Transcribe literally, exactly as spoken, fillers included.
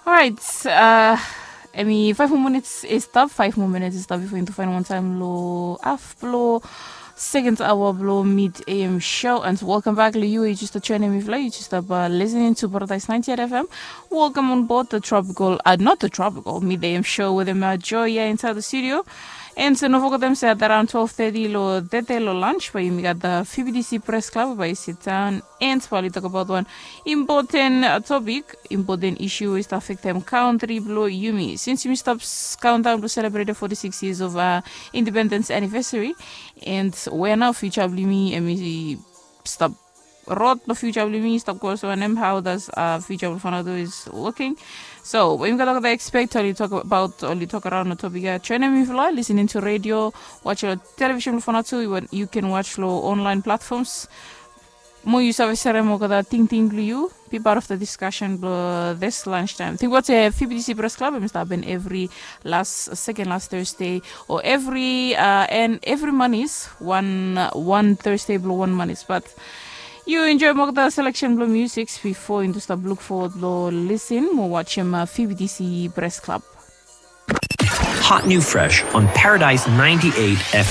Orait, uh, emi five more minutes is stop, five more minutes is stop before into find one time lo af blo second hour blo mid am show, and welcome back lo you. You just a join me fly, you just up uh, listening to Paradise ninety-eight F M. Welcome on board the tropical, uh, not the tropical, mid am show with him uh, Joy here inside the studio. And so no forget them said around twelve thirty lo tete lo lunch, but you got the F B T C Press Club by sit down and probably talk about one important uh, topic, important issue is to affect them country blo yumi. Since yumi stop countdown to celebrate the forty-six years of uh, independence anniversary, and where now future blo yumi and we stop rot the future blo yumi stop goes on him how does uh, future blo Vanuatu is looking. So we got the expect only talk about only talk around the topic uh, channel me if you like listening to radio, watch your television blo Vanuatu, you can watch lo online platforms. Mo yu save serem olgeta tingting blo yu, be part of the discussion blo this lunch time. Think about a F B T C Press Club, em stap happen every last second last Thursday or every uh, and every month is one uh, one Thursday blo one month is, but you enjoy olgeta selection blo music before into stop look forward blo listen mo watch him uh, F B T C Press Club. Hot new fresh on Paradise ninety-eight F M.